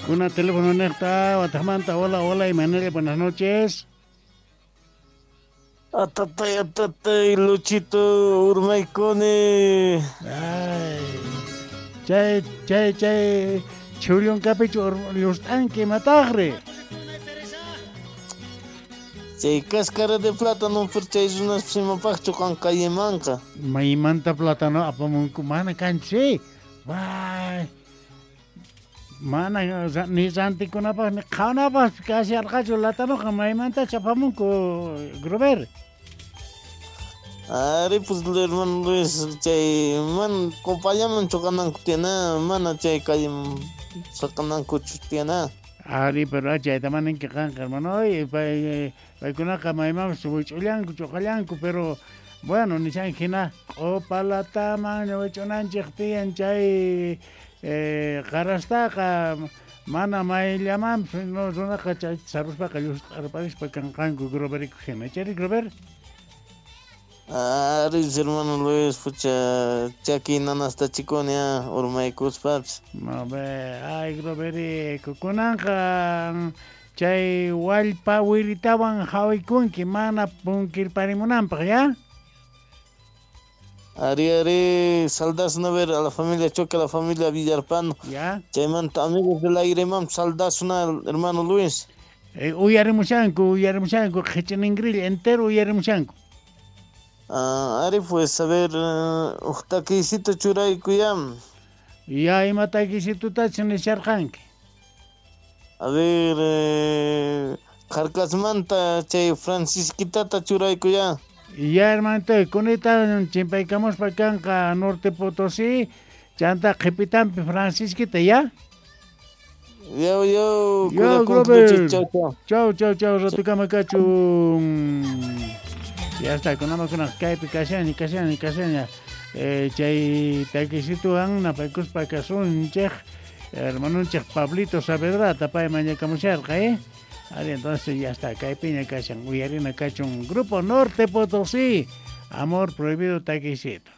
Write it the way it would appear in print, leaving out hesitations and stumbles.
Kuna teléfono niqta wataqmanta. Hola, hola, Imanella, buenas noches. Atatay, atatay, Luchito, urmaykuni. Ay, chay, chay, chay, chhullunkapichu llust'anki imataqri? Chay cáscara de plátano, pero chay runaspas imapaqchu qan callemanqa. Maymanta plátano apamunku mana kanchu, Bay. Mana ni rantikunapaq ni qhawanapaq kasharqachu latanoqa maymantachu apamunku Grover. Ari, pues, hermano Luis, chay man compañaman chocananku tiyana, mana chay calleman saqanankuchu tiyana. Ari, pero chayta mana ninki qanqa, hermano, pay paykunaqa maymanpas wich'ullanku choqallanku, pero bueno, nishan hina q'upalataman wich'unanchik tiyan chay qarastaqa mana mayllamanpas no runaqa chayta saruspaqa llust'arparispa kanqanku Groverico hina. Chayri Grover? Ari, hermano Luis, pucha, chaki nanasta chikuni urmaykuspapas. No ve, ay Groverico, kunanqa chay wallpa wiritawan hawikunki mana punkirparimunanpaq, ya? Ari, ari, saldasuna ver a la familia Choque, a la familia Villarpano. Ya. Chaymanta amigos del aire, mam, saldasuna, hermano Luis. Uyarimushanku, uyarimushanku, qhich'iningrill entero uyarimushanku. Ah, ari, pues, a ver, uq takisito churayku ya. Ya, ima takisitutachu nisharqanki? A ver, Qarkasmanta chay Francisquitata churayku ya. Ya, hermanito, kunita chimpaykamuspa kanqa Norte Potosí, chanta qhipitampi Francisquita, ya? Yo, yo, Yo, Grover. Grover. Chau, chau. Chau, chau, chau, ratukama kachun. Ya está, kunama kunaq kaypi kashani, kashani, kashani. Chay takisituwan napaykuspa kasunchik, hermanunchik Pablito Saavedrata pay mañakamusharqa, eh? Ari, entonces ya está, kaypiña kashan, uyarina kachun, Grupo Norte Potosí, Amor Prohibido takisito.